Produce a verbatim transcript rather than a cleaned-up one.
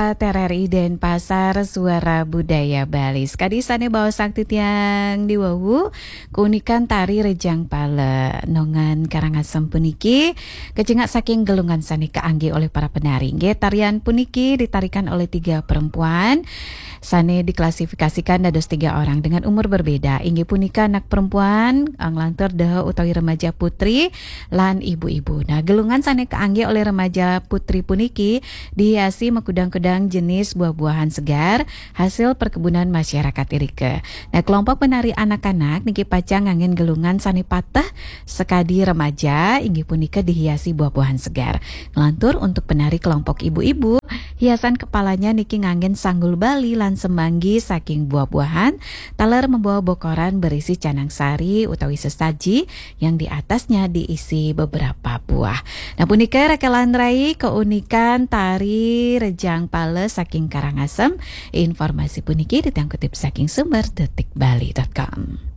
T R R I Denpasar, Suara Budaya Bali. Sekadi sane baosang titiang di wau, keunikan tari Rejang Pala nongan Karangasem puniki kecingak saking gelungan sane kaangge oleh para penari. Nggih, tarian puniki ditarikan oleh tiga perempuan sane diklasifikasikan dados tiga orang dengan umur berbeda. Inggih punika anak perempuan, nglantur deha utawi remaja putri, lan ibu-ibu. Nah, gelungan sane kaangge oleh remaja putri puniki dihiasi makudang-kudang jenis buah-buahan segar hasil perkebunan masyarakat irika. Nah, kelompok penari anak-anak niki pacang nganggen gelungan sane pateh sekadi remaja, inggih punika dihiasi buah-buahan segar. Nglantur untuk penari kelompok ibu-ibu, hiasan kepalanya niki nganggen sanggul Bali lan semanggi saking buah-buahan, taler membawa bokoran berisi canang sari utawi sesaji yang di atasnya diisi beberapa buah. Nah, punika rekelan rai keunikan tari Rejang Pala saking Karangasem. Informasi puniki titiang kutip saking sumber detik bali dot com.